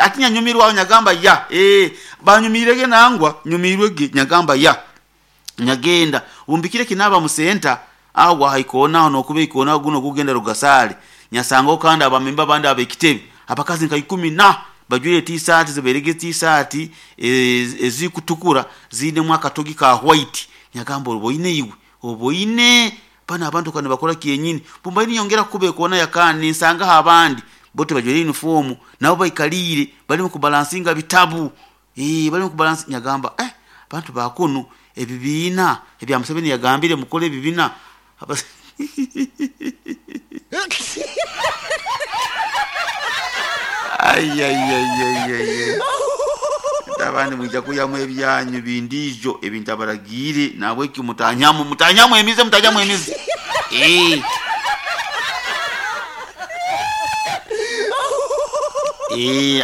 Ati nyanyumirwaho nyagamba ya banyumirege nangwa nyumirwege nyagamba ya nyagenda bumbikire kinaba musenta awo haikonaho nokuba ikonaho guno gugenda Rugasale nyasangaho kandi abamemba abandi ab'ekitebe abakazi nka ikumi na bajwaire t-shirt zibairege t-shirt ezikutukura ziinemu akatogi ka white. Nyagamba oboine iwe oboine banu abantu ka nibakora kyenyini. Bumbaire ninyongera kukuba ekoona yakandi ninsangaho abandi bo tibajwaire uniform nabo baikaliire barimu kubalansinga bitabu, barimu kubalansinga. Nyagamba abantu ba kunu ebibiina ebya Museveni yagambire mukore ebibiina. Ai. Abandi mwija kwihamu ebyanyu bindiijo ebi ntabaragiire, nahabweki mutanyamu mutanyamu emize mutanyamu emize.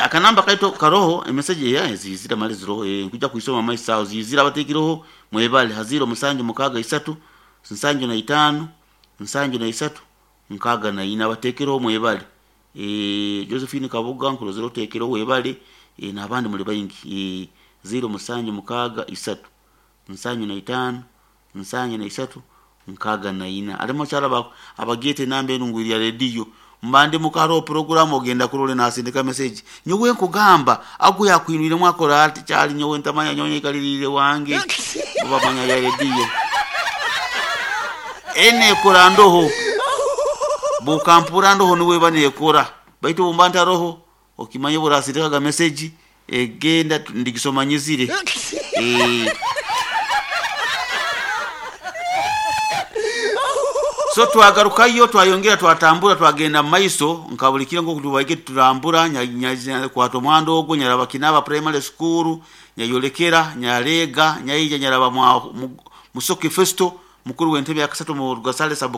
Akanamba kaitu karoho emeseji ziizire mali ziroho, nkwija kwisoma maiso aho ziizire abateekireho mwebale ha 0763 75 73 64 abateekireho mwebale. Josephine Kabuga nkurozere oteekireho webale, n'abandi muli baingi. 0763 75 73 64. Harimu abakyara abagyeta enamba enu ngu ya rediyo mba ndi muka haroho puroguramu ogenda kurora nasindika meseji nyowe nkugamba agu yakwinwiremu akora ati kyali nyowe ntamanya nyowe nyekaliriire wange bo bamanya ya rediyo enu ekora ndoho bwokampurra ndoho nuwe eba neekora baitu obu mba ntaroho okimanye obu orasindikaga meseji egenda ndigisoma nyizire. So twagarukayo twayongera twatambura twagenda mumaiso nka buli kiro nkoku tubaire tutambura nyakwata omuhanda ogu nyaraba Kinaba Primary School, nyayolekera nyaleega nyaija nyaraba Musoke Festo mukuru w'entebe yakasatu mu Rugasale Sub.